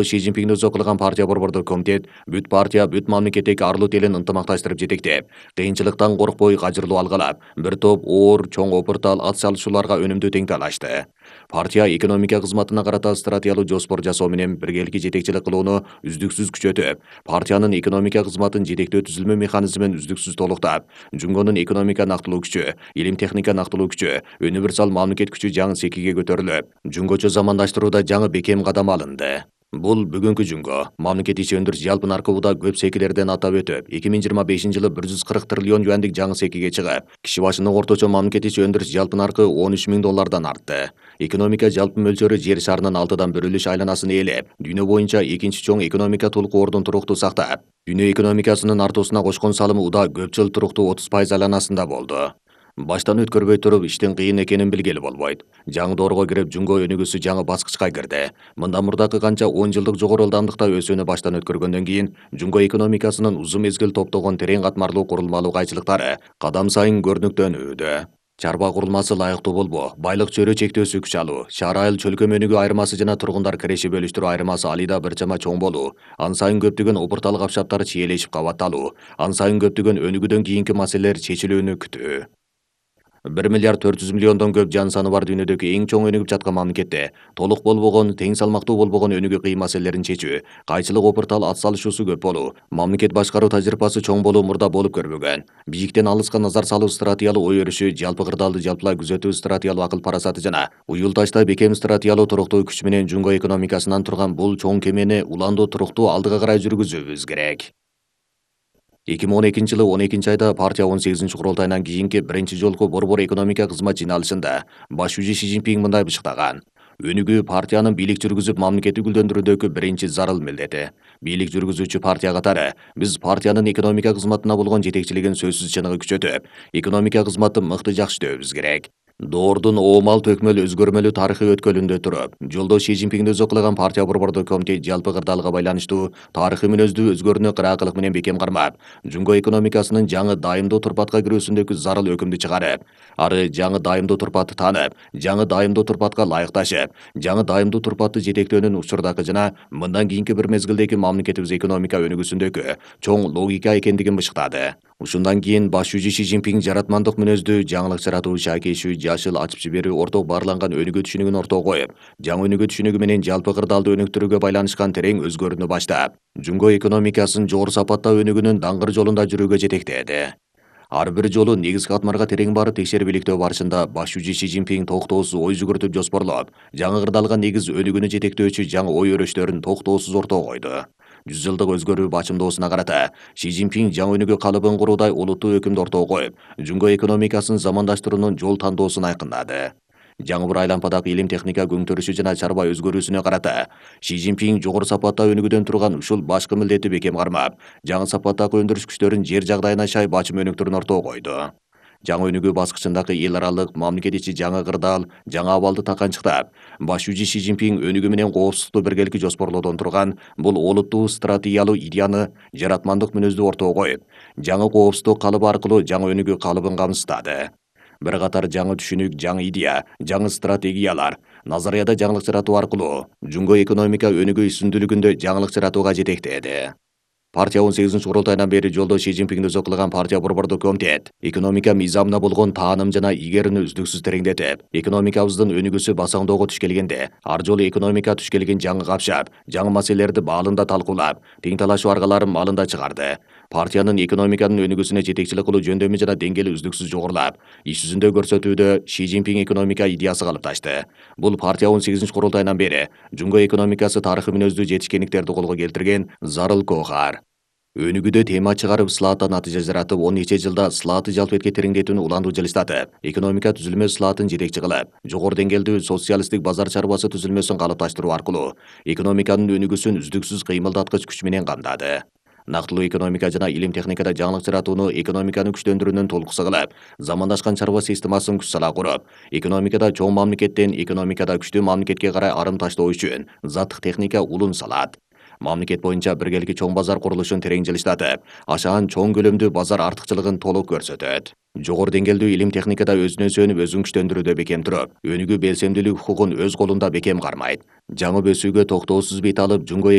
Ши Цзиньпиңди өзү кылган партия борбордук комитет бүт партия бүт мамлекеттеги арлуу телин ынтымакташтырып жетектеп, кыйынчылыктан коркпой кажырлуу алгалап, бир топ оор, чоң опуртал ат салышууларга өнүмдүү тең талашты. Партия экономика кызматына карата стратегиялуу жоспор жасоо менен биргеликке жетекчилик кылууну үздүксүз күчөтүп, партиянын экономика кызматын жетектөө түзүлмө механизмин үздүксүз толуктап, Жунгонун экономика нактылуу күчү, илим техника нактылуу күчү, универсал мамлекет күчү жаңы секиге көтөрүлүп, Жунгочо замандаштырууда жаңы бекем кадам алынды. Бул бүгүнкү Жунго мамлекет ичи өндүрүш жалпы наркыбыда көп секилерден атап өтүп, 2025-жылы 140 триллион юандык жаңы секиге чыгып, киши башына орточо мамлекет ичи өндүрүш жалпы наркы 13 миң доллардан артты. Экономика жалпы мөлчөрү жер шарынын 6дан 1/3 айланасын ээлеп, дүйнө боюнча экинчи чоң экономика толуку ордун туруктуу сактап, дүйнө экономикасынын артуусуна кошкон салымы уда көп жыл туруктуу 30% айланасында болду. Баштан өткөрбөй туруп иштин кыйын экенин билгели болбойт. Жаңы доорго кирип, Жунго өнүгүүсү жаңы баскычка кирди. Мындан мурдакы канча 10 жылдык жогору ылдамдыкта өсүүнү баштан өткөргөндөн кийин, Жунго экономикасынын узун мезгил топтогон терең катмарлуу курулмалуу кайчылыктары кадам сайын көрүнүктөнүүдө. Чарба курулмасы лайыктуу болбоо, байлык чөйрө чектөөсү күч алуу, шаар айыл чөлкөм өнүгүү айырмасы жана тургундар киреши бөлүштүрүү айырмасы алыйда бир чама чоң болуу, ан сайын көптөгөн опуртал капшаптар чиелешип кабатталуу, ан сайын көптөгөн өнүгүүдөн кийинки маселелер чечилүүнү күтүү. 1 миллиард 400 миллиондон көп жан саны бар дүйнөдөгү эң чоң өнүгүп жаткан мамлекетте толук болбогон, тең салмактуу болбогон өнүгүү кыйын маселелерин чечүү, кайчылык опуртал ат салышуусу көп болуу, мамлекет башкаруу тажрыйбасы чоң болуу мурда болуп көрбөгөн. Бийиктен алыска назар салуу стратегиялуу ой өрүшү, жалпы кырдаалды жалпылай күзөтүү стратегиялуу акыл парасаты жана уюлдашта бекем стратегиялуу туруктуу күч менен Жунго экономикасынан турган бул чоң кемени уланду туруктуу алдыга карай жүргүзүүбүз керек. 2012-жылы 12-айда партия 18-курултайынан кийинки биринчи жолку борбор экономика кызмат жыйналышында баш жүзү Ши Цзиньпин мындай бышыктаган: өнүгүү партиянын бийлик жүргүзүп мамлекетти гүлдөндүрүүдөгү биринчи зарыл милдети. Бийлик жүргүзүүчү партия катары биз партиянын экономика кызматына болгон жетекчилигин сөзсүз чыныгы күчөтүп, экономика кызматын мыкты жакшытөбүз керек. Доордун оомал төкмөл өзгөрмөлүү тарыхый өткөлүндө туруп, жолдош Ши Цзиньпиңди өзү кылган партия борбордук комитет жалпы кырдаалга байланыштуу тарыхый мүнөздүү өзгөрүүнү кыраакылык менен бекем кармап, Жунго экономикасынын жаңы дайымдуу турпатка кирүүсүндөгү зарыл өкүмдү чыгарып, ары жаңы дайымдуу турпатты таанып, жаңы дайымдуу турпатка ылайыкташып, жаңы дайымдуу турпатты жетектөөнүн учурдагы жана мындан кийинки бир мезгилдеги мамлекетибиз экономика өнүгүүсүндөгү чоң логика экендигин бышыктады. Ушундан кийин баш жүзү Ши Цзиньпин жаратмандык мүнөздүү, жаңылык жаратуу, шайкейшүү, жашыл, ачып жиберүү, орток баарланган өнүгүү түшүнүгүн ортого коюп, жаңы өнүгүү түшүнүгү менен жалпы кырдаалды өнүктүрүүгө байланышкан терең өзгөрүүнү баштап, Жунго экономикасын жогору сапатта өнүгүүнүн даңгыр жолунда жүрүүгө жетектеди. Ар бир жолу негизги катмарга терең барып текшерип иликтөө барышында баш жүзү Ши Цзиньпин токтоосуз ой жүгүртүп жоспорлоп, жаңы кырдаалга негиз өнүгүүнү жетектөөчү жаңы ой өрөштөрүн токтоосуз ортого койду. 100 жылдык өзгөрүү бачымдоосуна карата Ши Цзиньпин жаңы өнүгүү калыбын куруудай олуттуу өкүмдү ортого коюп, Жунго экономикасын замандаштыруунун жол тандоосун айкындады. Жаңы бір айлампадагы илим техника көңтөрүшү жана чарба өзгөрүүсүнө карата Ши Цзиньпин жогору сапатта өнүгүүдөн турган ушул башкы милдетти бекем кармап, жаңы сапаттагы өндүрүш күчтөрүн жер жагдайына шай бачым өнүктүрүүнү ортого койду. Жаңы өнүгүү баскычындагы эл аралык мамлекет ичи жаңы кырдаал, жаңы абалды таканчыктап, баш жүзү Ши Цзиньпин өнүгүү менен коопсуздукту биргеликте жоспорлоодон турган бул олуттуу стратегиялуу идеяны жаратмандык мүнөздүү ортого коюп, жаңы коопсуздук калыбы аркылуу жаңы өнүгүү калыбын камсыздады. Бир катар жаңы түшүнүк, жаңы идея, жаңы стратегиялар, назарияда жаңылык жаратуу аркылуу Жунго экономика өнүгүү үстүндүүлүгүндө жаңылык жаратууга жетектеди. Партия 18-курултайынан бери жолдош Ши Цзиньпиңди өзү кылган партия борбордук комитет экономика мыйзамына болгон тааным жана игерүүнү үздүксүз тереңдетип, экономикабыздын өнүгүүсү басаңдоого туш келгенде, ар жолу экономика туш келген жаңы капшап, жаңы маселелерди баалында талкуулап, тең талашуу аргаларын малында чыгарды. Партиянын экономиканын өнүгүүсүнө жетекчилик кылуу жөндөмү жана деңгээли үздүксүз жогорулап, иш жүзүндө көрсөтүүдө Ши Цзиньпин экономика идеясы калыпташты. Бул партия 18-курултайынан бери Жунго экономикасы тарыхый мүнөздүү жетишкендиктерди колго келтирген зарыл коохар. Өнүгүүдө тема чыгарып, слаатта натыйжа жаратып, 10 нече жылда слаатты жалпетке тереңдетүүнү уланду жылыштатып, экономика түзүлмө слаатын жетекчи кылып, жогору деңгээлдүү социалисттик базар чарбасы түзүлмөсүн калыпташтыруу аркылуу экономиканын өнүгүүсүн үздүксүз кыймылдаткыч күч менен камдады. Нактылуу экономика жана илим техникада жаңылык жаратууну экономиканы күчтөндүрүүнүн толкусу кылып, замандашкан чарба системасын күч сала куруп, экономикада чоң мамлекеттен экономикада күчтүү мамлекетке карай арым таштоо үчүн заттык техника улун салат. мамлекет боюнча биргеликти чоң базар курулушун терең жылыштатып, ашаан чоң көлөмдүү базар артыкчылыгын толук көрсөтөт. Жогору деңгээлдүү илим техникада өзүнө сүйөнүп өзүн күчтөндүрүүдө бекем туруп, өнүгүү белсемдүүлүк укугун өз колунда бекем кармайт. Жаңы өсүүгө токтоосуз бет алып, жунго